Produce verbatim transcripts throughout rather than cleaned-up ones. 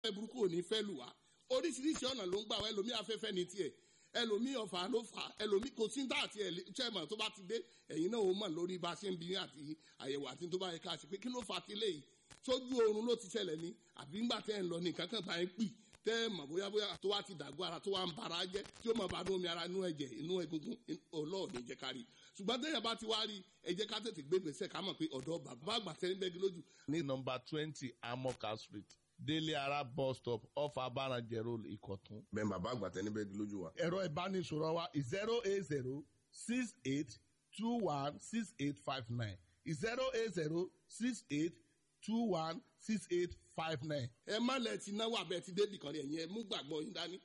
Burúkú ò ní fẹ́ lù wá. Oríṣiríṣi ọ̀nà ló ń gbà wá. Ẹlòmí afẹ́fẹ́ ní tiẹ̀, ẹlòmí ọ̀fà ló fà, ẹlòmí kò sí àti chairman tó bá ti dé, ẹ̀yin náà ó mọ̀ lórí bá a ṣe ń bi àti àyẹ̀wò àti tó bá yẹ ká ṣe pé kí ló fà á ti léyìí. Sójú oorun ló ti ṣẹlẹ̀ ní, àbí ńgbà tẹ́ ẹ̀ ń lọ ní nǹkan kan bá ń pì tẹ́ ẹ̀ mọ̀ bóyá bóyá tó wá ti dàgbọ́ ara, tó wá ń bara jẹ́, tí ó mọ̀ bá inú omi ara, inú ẹ̀jẹ̀, inú egungun ọlọ́ọ̀ ní jẹ́ ká rí. Ṣùgbọ́n téèyàn bá ti wá rí, ẹ jẹ́ ká tètè gbé gbèsè, ká mọ̀ pé ọ̀dọ́ bàbá àgbà tẹ́ ń bẹ́gi lójú. Ní nọ́mbà twenty Amoka Street, Délé Ara bus stop, off Abaranjẹ Road, Ìkọ̀tún. Bẹ́ẹ̀ bàbá àgbà tẹ́ níbẹ̀ lójú wa. Ẹ̀rọ ìbánisọ̀rọ̀ wa zero eight zero six eight two one six eight five nine, zero eight zero six eight two one six eight five nine. Ẹ má lẹ ti náwó abẹ ti débì kan rí. Ẹ̀yin ẹ mú gbàgbọ́ yín dání.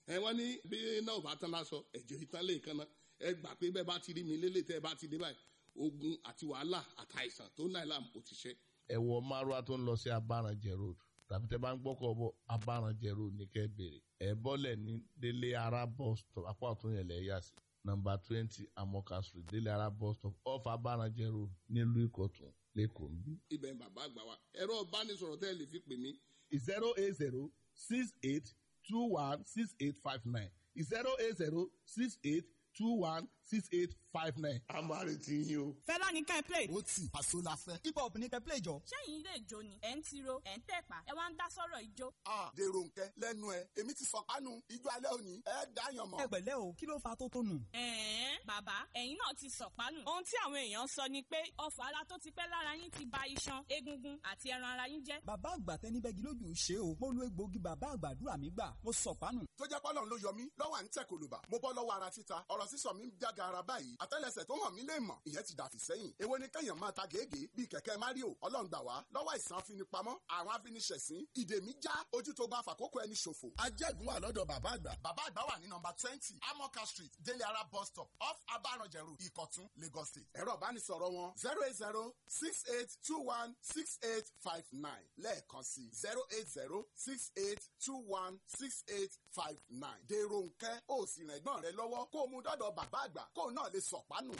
Ẹ wọ́n ní bí náà bá tán lásọ, ẹ̀jẹ̀ ìtàn lè kan náà. Ẹ gbà pé bẹ́ẹ̀ bá ti rí mi lélẹ̀, tẹ́ ẹ bá ti dé báyìí, ogun àti wàhálà àtàìsàn tó náà làm ó ti ṣe. Ẹ wọ márùá tó ń lọ sí Abaranjẹ Road, tàbí tẹ́ bá ń gbọ́kọ̀ bọ̀, Abaranjẹ Road ní kẹ́ bèrè. Ẹ bọ́lẹ̀ ní Délé Ara bus stop, apá ọ̀tún yẹn lẹ̀ yà sí. Nọ́mbà twenty Amoka Street, Délé Ara bus stop, off Abaranjẹ Road, nílùú Ìkọ̀tún, lẹ́kọ̀ọ́ ń bí. Ibẹ̀ ń bàbá àgbà wa. Ẹ̀rọ ìbánisọ̀rọ̀ tẹ́ ẹ lè fi pè mí. zero eight zero six eight two one six eight five nine, zero eight zero six eight two one six eight five nine. A máa retí yín o. Fẹlá ní ká ẹ play. Ó tì àṣọ la fẹ́. Hip hop ní kẹ́ play jọ. Ṣẹ́yìn ilé ìjó ni ẹ̀ ń tiro, ẹ̀ ń tẹ̀pá, ẹ wá ń dá sọ̀rọ̀ ìjó? A dèrò nkẹ lẹ́nu ẹ, èmi ti sọ kánú ijó alẹ́ òní, ẹ dáyàn mọ́. Ẹ pẹ̀lẹ́ o, kí ló fa tó tónù? Ẹ̀ẹ́n, bàbá, ẹ̀yin náà ti sọ̀pánù. Ohun tí àwọn èèyàn sọ ni pé ọfà ara tó ti pẹ́ lára yín ti ba iṣan, egungun àti ẹran ara yín jẹ́. Bàbá àgbà tẹni bẹ́gi lójú ṣe o. Mo lo egbòogi bàbá àgbàdúrà mi gbà, mo sọ̀pánù. Tó jẹ́ pọ́lọ́n ló yọ mí lọ́wọ́ à ń tẹ̀ kòlùbà, mo bọ́ lọ́wọ́ ara títa, ọ̀rọ̀ sísọ mi ń jága ara báyìí, àtẹ́lẹsẹ̀ tó hàn mí lè mọ̀, ìyẹn ti dàfí sẹ́yìn. Èwo ni kẹ́yàn máa ta gègé bíi kẹ̀kẹ́ Mario? Ọlọ́run gbà wá lọ́wọ́ àìsàn afinipamọ́ àwọn afiniṣẹ̀sín. Ìdè mi já, ojú tó bá fàkókò ẹni ṣòfò. Ajẹ́gun wà lọ́dọ̀ bàbá àgbà. Bàbá àgbà wà ní nọ́mbà twenty Amoka Street, Délé Ara bus stop, off Abaranjẹ Road, Ìkọ̀tún, Lagos State. Ẹ̀rọ ìbánisọ̀rọ̀ wọn zero eight zero six eight two one six eight five nine, lẹ́ẹ̀kan sí zero eight zero six eight two one six eight five nine. Dèrò nkẹ́, ó sì rẹ̀gbọ́n rẹ lọ́wọ́ kó o mú dọ́dọ̀ bàbá àgbà kó o náà lè sọ̀pánù.